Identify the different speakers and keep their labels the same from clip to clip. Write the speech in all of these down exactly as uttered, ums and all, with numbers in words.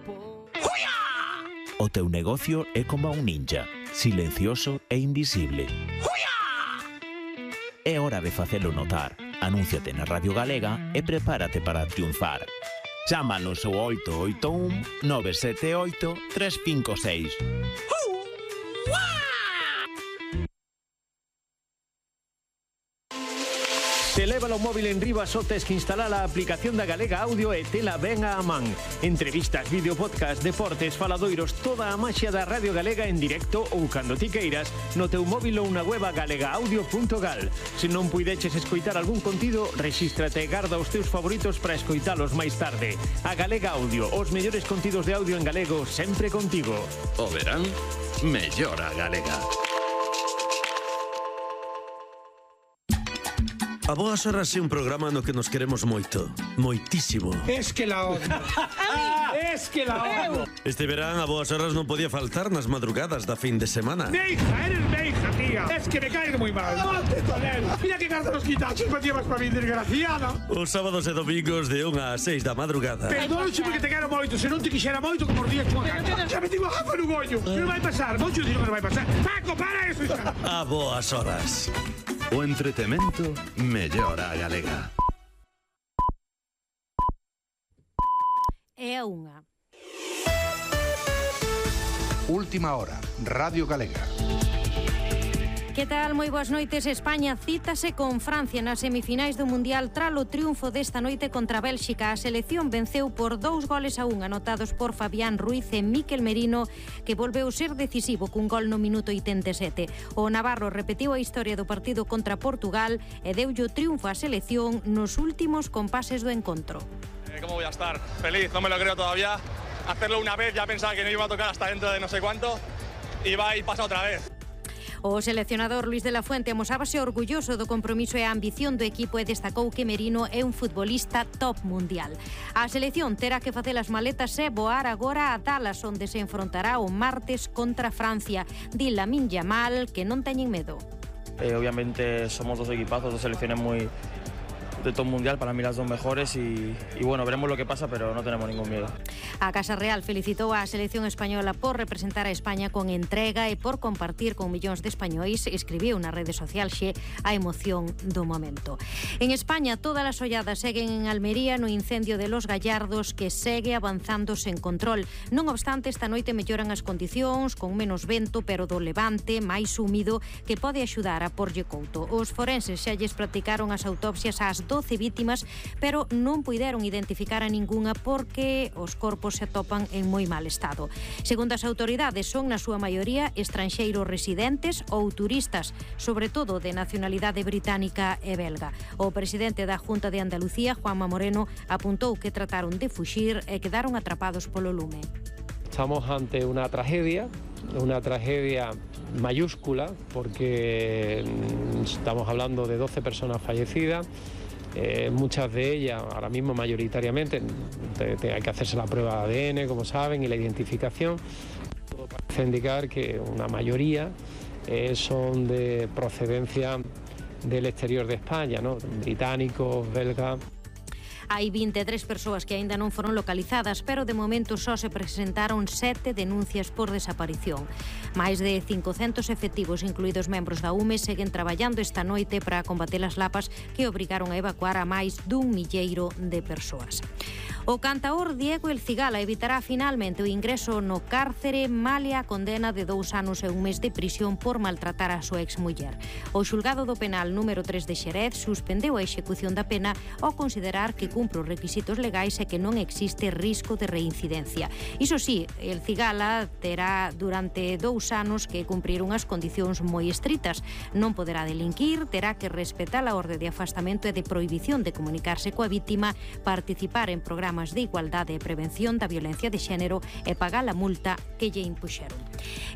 Speaker 1: por...
Speaker 2: O teu negocio é como un ninja, silencioso e invisible. É hora de facelo notar. Anúnciate na Radio Galega e prepárate para triunfar. Chámanos ao oito oito un nove sete oito tres cinco seis.
Speaker 1: Se leva o móvil en riba só tes que instalar a aplicación da Galega Audio e tela ben a man. Entrevistas, vídeo, podcast, deportes, faladoiros, toda a maxia da Radio Galega en directo ou cando ti queiras no teu móvil ou na web galega audio punto gal. Se non puideches escoitar algún contido, rexístrate e garda os teus favoritos para escoitalos máis tarde. A Galega Audio, os mellores contidos de audio en galego sempre contigo.
Speaker 3: O verán, mellora Galega.
Speaker 4: A Boas Horas é un programa no que nos queremos moito, moitísimo.
Speaker 5: Es que la odio. Es que la odio.
Speaker 4: Este verán a Boas Horas non podía faltar nas madrugadas da fin de semana.
Speaker 5: Neija, eres neija, tía. Es que me caes muy mal. ¡Ponte con él! Mira que carta los quitachos me llevas para mi desgraciada.
Speaker 4: Os sábados e domingos de unha a seis da madrugada.
Speaker 5: Perdónche porque te quero moito. Se non te quixera moito, como os días chua cancha. Xa me digo gafa no gollo. Que non vai pasar. Mocho digo que non vai pasar. Paco, para eso, hija.
Speaker 4: A Boas Horas.
Speaker 3: O entretemento mellora Galega.
Speaker 6: É a unha.
Speaker 7: Última hora, Radio Galega.
Speaker 6: Que tal? Moi boas noites. España cítase con Francia nas semifinais do Mundial tralo triunfo desta noite contra Bélxica. A selección venceu por dous goles a un, anotados por Fabián Ruiz e Mikel Merino, que volveu ser decisivo cun gol no minuto oitenta e sete. O navarro repetiu a historia do partido contra Portugal e deulle o triunfo á selección nos últimos compases do encontro.
Speaker 8: Eh, ¿Cómo voy a estar? Feliz, no me lo creo todavía. Hacerlo una vez, ya pensaba que no iba a tocar hasta dentro de no sé cuánto y va y pasa otra vez.
Speaker 6: O seleccionador Luis de la Fuente amosábase orgulloso do compromiso e a ambición do equipo e destacou que Merino é un futbolista top mundial. A selección terá que facer as maletas e voar agora a Dallas, onde se enfrontará o martes contra Francia. Di Lamine Yamal que non teñen medo.
Speaker 9: Eh, obviamente somos dos equipazos, dos selecciones muy de top mundial, para mí las dos mejores y, y bueno, veremos lo que pasa, pero no tenemos ningún miedo.
Speaker 6: A Casa Real felicitou a selección española por representar a España con entrega e por compartir con millóns de españois, escribiu na rede social xe a emoción do momento. En España, todas as olladas seguen en Almería no incendio de Los Gallardos, que segue avanzando sen control. Non obstante, esta noite melloran as condicións, con menos vento, pero do levante máis húmido, que pode axudar a porlle couto. Os forenses xa lles practicaron as autopsias ás doce vítimas, pero non puideron identificar a ningunha porque os corpos se atopan en moi mal estado. Segundo as autoridades, son na súa maioría estranxeiros residentes ou turistas, sobre todo de nacionalidade británica e belga. O presidente da Junta de Andalucía, Juanma Moreno, apuntou que trataron de fuxir e quedaron atrapados polo lume.
Speaker 10: Estamos ante una tragedia, una tragedia mayúscula, porque estamos hablando de doce personas fallecidas. Eh, muchas de ellas, ahora mismo mayoritariamente, te, te, hay que hacerse la prueba de A D N, como saben, y la identificación. Todo parece indicar que una mayoría eh, son de procedencia del exterior de España, ¿no? Británicos, belgas.
Speaker 6: Hai vinte e tres persoas que aínda non foron localizadas, pero de momento só se presentaron sete denuncias por desaparición. Máis de cincocentos efectivos, incluídos membros da U M E, seguen traballando esta noite para combater as lapas que obrigaron a evacuar a máis dun milleiro de persoas. O cantaor Diego El Cigala evitará finalmente o ingreso no cárcere malia a condena de dous anos e un mes de prisión por maltratar a súa exmuller. O xulgado do penal número tres de Xerez suspendeu a execución da pena ao considerar que cumpre os requisitos legais e que non existe risco de reincidencia. Iso sí, El Cigala terá durante dous anos que cumprir unhas condicións moi estritas. Non poderá delinquir, terá que respetar a orde de afastamento e de prohibición de comunicarse coa vítima, participar en programas de igualdade e prevención da violencia de xénero e pagar a multa que lle impuxeron.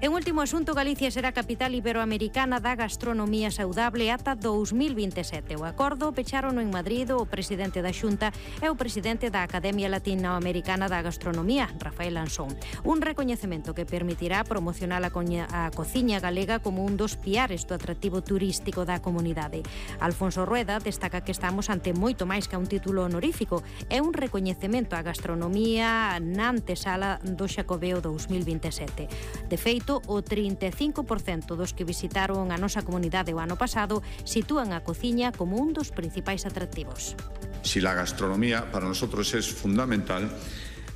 Speaker 6: En último asunto, Galicia será capital iberoamericana da gastronomía saudable ata dous mil vinte e sete. O acordo pecharon en Madrid o presidente da Xunta e o presidente da Academia Latinoamericana da Gastronomía, Rafael Ansón. Un recoñecemento que permitirá promocionar a, coña, a cociña galega como un dos piares do atractivo turístico da comunidade. Alfonso Rueda destaca que estamos ante moito máis que un título honorífico. É un recoñecemento á gastronomía na antesala do Xacobeo dous mil vinte e sete. De feito, o trinta e cinco por cento dos que visitaron a nosa comunidade o ano pasado sitúan a cociña como un dos principais atractivos.
Speaker 11: Si la gastronomía para nosotros es fundamental,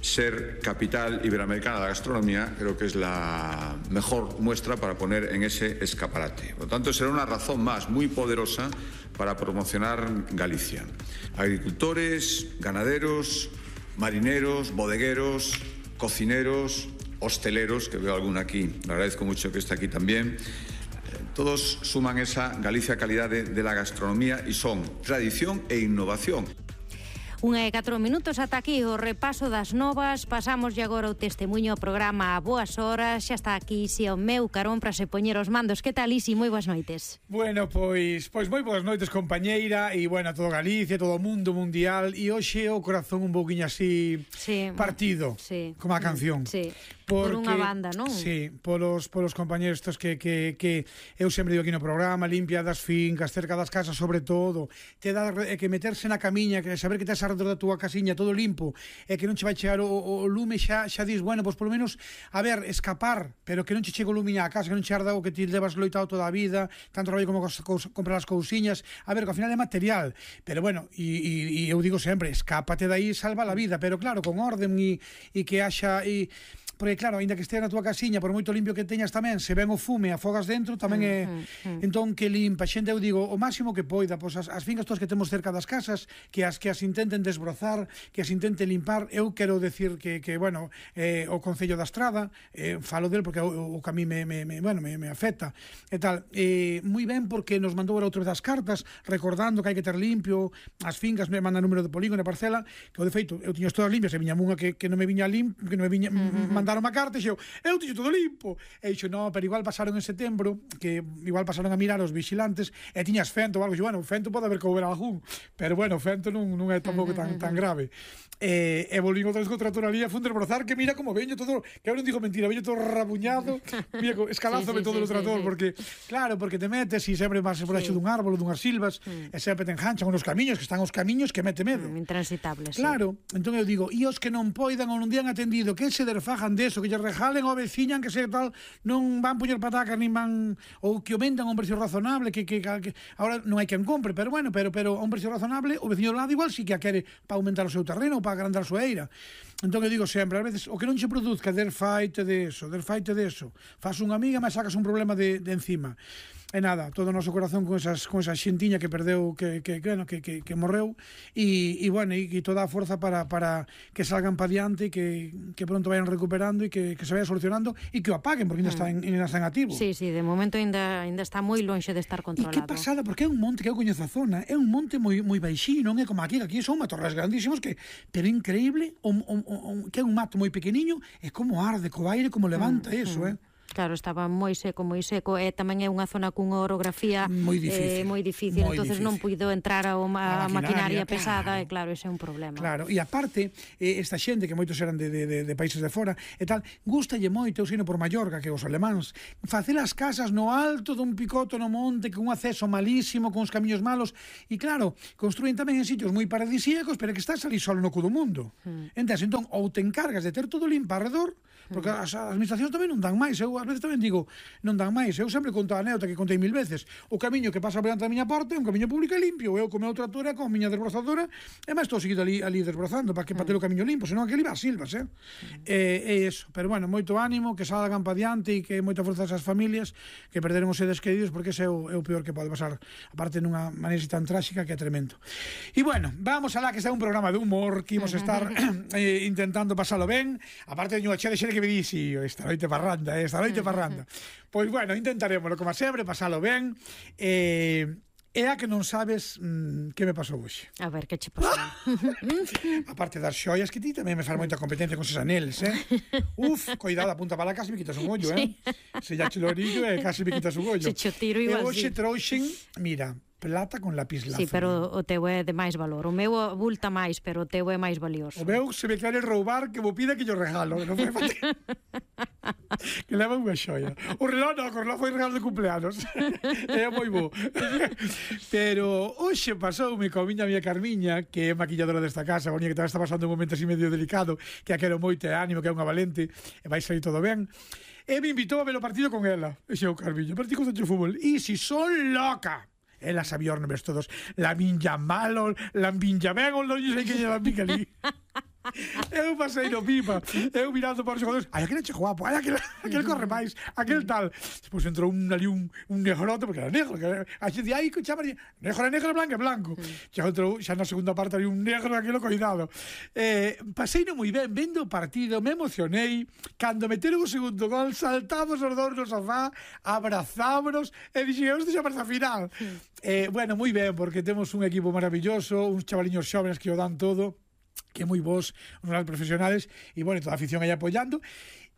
Speaker 11: ser capital iberoamericana de la gastronomía creo que es la mejor muestra para poner en ese escaparate. Por lo tanto, será una razón más muy poderosa para promocionar Galicia. Agricultores, ganaderos, marineros, bodegueros, cocineros, hosteleros, que veo alguno aquí, le agradezco mucho que esté aquí también. Todos suman esa Galicia calidad de, de la gastronomía y son tradición e innovación.
Speaker 6: Unha e catro minutos ata aquí o repaso das novas. Pasamos agora o testemunho ao programa a boas horas. Xa está aquí Isi o meu carón para se poñer os mandos. Que tal, Isi? Moi boas noites.
Speaker 5: Bueno, pois pois moi boas noites, compañeira. E, bueno, todo Galicia, todo o mundo mundial. E hoxe o corazón un pouquiño así sí, partido, sí, como a canción.
Speaker 6: Sí.
Speaker 5: Porque,
Speaker 6: por unha banda, non?
Speaker 5: Sí, polos, polos compañeros estos que, que, que eu sempre digo aquí no programa, limpia das fincas, cerca das casas sobre todo, te dá que meterse na camiña, que saber que tes arredor da túa casiña todo limpo, e que non che vai chegar o, o lume, xa, xa dis, bueno, pois polo menos, a ver, escapar, pero que non che chego o lume á casa, que non che arda o que ti levas loitado toda a vida, tanto traballo como cos, cos, comprar as cousiñas, a ver, que ao final é material, pero bueno, e, e, e eu digo sempre, escápate daí, salva a vida, pero claro, con orden e, e que haxa... E, porque claro, aínda que estea na túa casiña, por moito limpio que teñas tamén, se ven o fume, afogas dentro, tamén é... Mm, mm, mm. Entón, que limpa, xente, eu digo, o máximo que poida, pois as, as fincas todas que temos cerca das casas, que as que as intenten desbrozar, que as intenten limpar, eu quero decir que, que bueno, eh, o Concello da Estrada, eh, falo del porque o, o que a mí me, me, me, bueno, me, me afecta, e tal, eh, moi ben porque nos mandou outra das cartas, recordando que hai que ter limpio, as fincas me mandan número de polígono e parcela, que o de feito, eu tiñas todas limpias, e viña unha que, que non me viña limpo, que non me viña, mm-hmm. mandar unha carta e xeo, eu tiño todo limpo e dixo, no, pero igual pasaron en setembro que igual pasaron a mirar os vigilantes e tiñas fento ou algo, e bueno, fento pode haber que houber algún, pero bueno, fento non, non é tampouco tan, tan grave e, e volvín outra vez co trator ali a funderbrozar, que mira como veño todo, que eu non digo mentira, veño todo rabuñado, mira, escalázome sí, sí, todo sí, o trator, sí, porque claro, porque te metes e sempre vas por baixo sí. dun árbol, dunhas silvas, mm. e sempre te enganchan nos camiños, que están os camiños que mete medo.
Speaker 6: Mm, intransitables.
Speaker 5: Claro, sí. Entón eu digo, e os que non poidan ou non dian atendido, que se derfajan deso, que lle rejalen ao veciñan, que se tal, non van poñer patacas, nin van, ou que o vendan a un precio razonable, que, que, que ahora non hai quen compre, pero bueno, pero, pero a un precio razonable, o veciño do lado igual si que a quere para aumentar o seu terreno ou para agrandar a súa eira. Entón eu digo sempre, a veces, o que non che produzca, der faite de eso, der faite de eso, faz unha amiga, mas sacas un problema de, de encima. E nada, todo o noso corazón con esas con esa xentiña que perdeu, que que bueno, que que que morreu e e bueno, e, e toda a forza para para que salgan pa diante e que que pronto vayan recuperando e que que se vaya solucionando e que o apaguen, porque ainda está en ainda está en activo.
Speaker 6: Sí, sí, de momento ainda ainda está moi lonxe de estar controlado.
Speaker 5: E que pasada, porque é un monte que eu coñezo a zona, é un monte moi moi baixinho, non é como aquí, aquí son matorrais grandísimos que pero increíble, o, o, o, que é un mato moi pequeniño, é como arde co aire, como levanta mm, eso, mm. eh.
Speaker 6: Claro, estaba moi seco, moi seco, e tamén é unha zona cunha orografía
Speaker 5: moi difícil,
Speaker 6: eh, moi difícil,
Speaker 5: moi
Speaker 6: entonces
Speaker 5: difícil.
Speaker 6: non puido entrar a, a, a maquinaria, maquinaria pesada,
Speaker 5: claro.
Speaker 6: e claro, ese é un problema.
Speaker 5: Claro, e aparte, eh, esta xente que moitos eran de, de, de, de países de fora e tal, gustalle moito, eu sino por Mallorca, que os alemáns, facer as casas no alto dun picoto no monte, con un acceso malísimo, con os camiños malos, e claro, construen tamén en sitios moi paradisíacos, pero que estás ali solo no cu do mundo. Hmm. Entón, entón, ou te encargas de ter todo limpo alrededor, porque hmm. as administracións tamén non dan máis, eu ás veces tamén digo, non dan máis. Eu sempre conto a anécdota que contei mil veces. O camiño que pasa por diante da miña porta é un camiño público e limpio. Eu co meu trator e con a miña desbrozadora e máis estou seguido ali, ali desbrozando para que para ter o camiño limpo, senón aquele va a silvas, eh? Mm. E, e eso. Pero bueno, moito ánimo, que salgan pa diante e que moita forza esas familias que perderon os seres queridos, porque ese é o, é o peor que pode pasar, aparte nunha maneira tan tráxica que é tremendo. E bueno, vamos alá, que está un programa de humor que imos estar eh, intentando pasalo ben. Aparte de unha chea de xere que me di, si, esta noite parranda, eh, esta noite parranda. Pois bueno, intentaremos, como sempre, pasalo ben. Eh, é a que non sabes mmm, que me pasou hoxe.
Speaker 6: A ver, que che pasou?
Speaker 5: A parte das xoias, que ti tamén me faz moita competencia con esos aneles, eh? Uf, coidado, a punta para lá, casi me quitas un ollo, eh? Se ya che lo orillo, eh, casi me quitas un ollo.
Speaker 6: Se che tiro igual,
Speaker 5: e hoxe
Speaker 6: sí.
Speaker 5: trouxen, mira, plata con lapislázuli.
Speaker 6: Sí, pero o teu é de máis valor. O meu abulta máis, pero o teu é máis valioso.
Speaker 5: O meu, se me quere roubar, que mo pida que yo regalo. Non foi fácil. Que leva unha xoia. O reloj non, o reloj foi regalo de cumpleanos. É moi bo. Pero hoxe pasoume con miña amiga Carmiña, que é maquilladora desta casa, a que tamén está pasando un momento así medio delicado, que a quero moito e ánimo, que é unha valente, e vai sair todo ben. E me invitou a ver o partido con ela. E xeo, Carmiña, partido contra o fútbol. E si son loca. Ela sabía os nombres todos. La Minja Malo, la Minja Vengo, non sei que lle la Minja ali. Eu pasei no pipa, eu mirando para os xogadores, ai, aquele che guapo, ai, aquele, aquele corre máis, aquele tal. Depois entrou un, ali un, un negrote, porque era negro, que a xente, ai, que chama, negro é negro, blanco é blanco. Xa entrou, xa na segunda parte ali un negro, aquilo, cuidado. Eh, pasei no moi ben, vendo o partido, me emocionei, cando meteron o segundo gol, saltamos os dous no sofá, abrazámonos, e dixen, isto xa para a final. Eh, bueno, moi ben, porque temos un equipo maravilloso, uns chavaliños xóvenes que o dan todo, que moi bons, uns profesionales, e, bueno, toda a afición aí apoiando.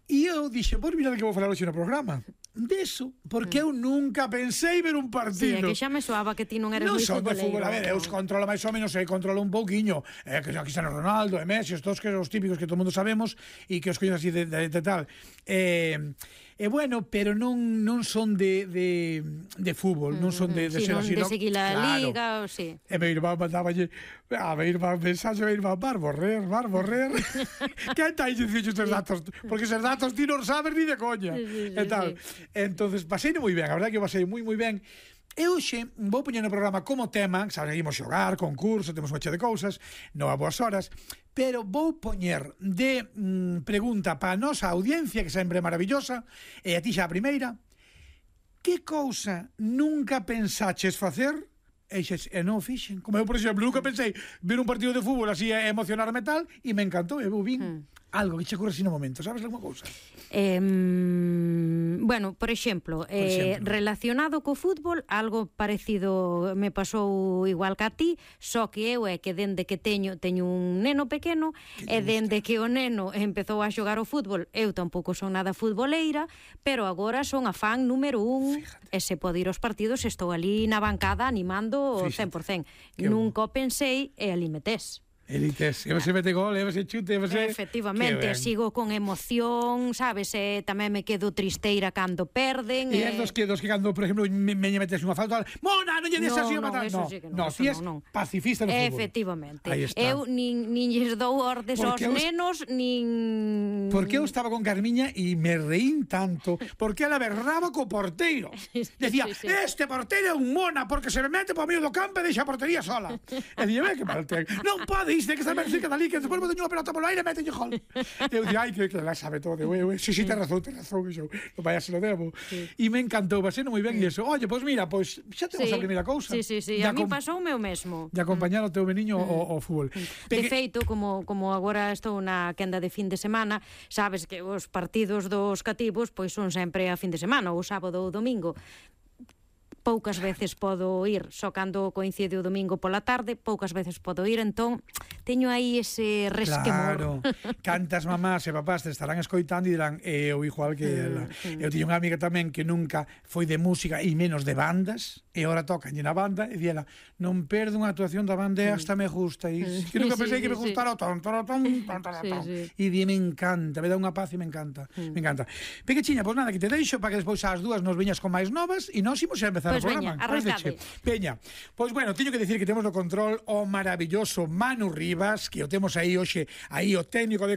Speaker 5: E eu dixen, pois mira que vou falar hoxe no programa deso, porque eu nunca pensei ver un partido.
Speaker 6: Sí, é que xa me soaba que ti non eres
Speaker 5: non
Speaker 6: moi
Speaker 5: son de fútbol,
Speaker 6: futboleiro.
Speaker 5: a ver, eu os controlo máis ou menos, e controlo un pouquiño, eh, que aquí están Ronaldo, e Messi, estos que os típicos que todo mundo sabemos, e que os coño así de, de, de tal. Eh, E bueno, pero non non son de, de, de fútbol, non son de, de
Speaker 6: sí,
Speaker 5: ser
Speaker 6: non
Speaker 5: así.
Speaker 6: de seguir a
Speaker 5: claro.
Speaker 6: liga, ou sí.
Speaker 5: E me irmán mandáballe, a me irmán mensaxe, me irmán, var borrer, var borrer. Que está aí dicindo estes datos? Porque esos datos ti non sabes ni de coña.
Speaker 6: Sí, sí, sí,
Speaker 5: e tal.
Speaker 6: sí.
Speaker 5: Entonces, pasei moi ben, a verdade que eu pasei moi moi ben. E hoxe vou poñer no programa como tema, sabes, seguimos xogar, concurso, temos unha chea de cousas, non a boas horas, pero vou poñer de mm, pregunta para a nosa audiencia, que sempre é maravillosa, e a ti xa a primeira, que cousa nunca pensaches facer e, xes, e non fixen? Como eu, por exemplo, nunca pensei ver un partido de fútbol así e emocionarme tal, e me encantou, e eu vin hmm. algo que che ocurre así no momento, sabes alguma cousa?
Speaker 6: Eh, bueno, por exemplo,
Speaker 5: por
Speaker 6: eh,
Speaker 5: exemplo,
Speaker 6: relacionado co fútbol, algo parecido me pasou igual que a ti, só que eu é que dende que teño teño un neno pequeno, e dende que o neno empezou a xogar o fútbol, eu tampouco son nada futboleira, pero agora son a fan número un. Fíjate. E se pode ir aos partidos, estou ali na bancada animando o cen por cen. Nunca o pensei e ali metés.
Speaker 5: Elites, e você mete gol, e você chute, e você...
Speaker 6: Efectivamente, sigo con emoción, sabes, e tamén me quedo tristeira cando perden.
Speaker 5: E é dos que, dos que cando, por exemplo, me, me metes unha falta, Mona, non lle des así a matar.
Speaker 6: No,
Speaker 5: no, ti es pacifista no fútbol.
Speaker 6: Efectivamente. Eu nin, nin lles dou ordes aos nenos, nin...
Speaker 5: Porque eu estaba con Carmiña e me reín tanto, porque ela berraba co porteiro. Decía, sí, sí. Este porteiro é un mona, porque se me mete por medio do campo e deixa a portería sola. E dije, ve que mal ten. Non pode Dice que está ben cerca dali, que despois me teño unha pelota polo aire e mételle gol. Eu dije, ai, que, que la sabe todo. Eu, eu, sí, sí, ten razón, ten razón. Eu, non vaya, se lo debo. Sí. E me encantou, va sendo moi ben e eso. Oye, pois pues mira, pois pues, xa temos sí. a primeira cousa.
Speaker 6: Sí, sí, sí, a mí pasou o meu mesmo.
Speaker 5: De acompañar o teu meniño ao, ao fútbol.
Speaker 6: De Peque... feito, como, como agora estou na quenda de fin de semana, sabes que os partidos dos cativos pois son sempre a fin de semana, ou sábado ou domingo. Poucas veces podo ir, só cando coincide o domingo pola tarde, poucas veces podo ir, entón teño aí ese resquemor.
Speaker 5: Claro, cantas mamás e papás te estarán escoitando e dirán, é o igual que ela. Mm, mm. Eu tiño unha amiga tamén que nunca foi de música e menos de bandas, e agora tocan na banda, e di ela, non perdo unha actuación da banda e hasta me gusta. E que nunca pensei sí, que me sí, gustara o ton, ton, ton, ton, ton, ton. Sí, sí. E di, me encanta, me dá unha paz e me encanta. Mm. Me encanta. Pequechiña, pois nada, que te deixo para que despois ás dúas nos viñas con máis novas e nós imos a empezar
Speaker 6: pues
Speaker 5: o programa.
Speaker 6: Veña, arrancade.
Speaker 5: Peña, pois bueno, teño que decir que temos no control o maravilloso Manu Rivas, que o temos aí hoxe, aí o técnico de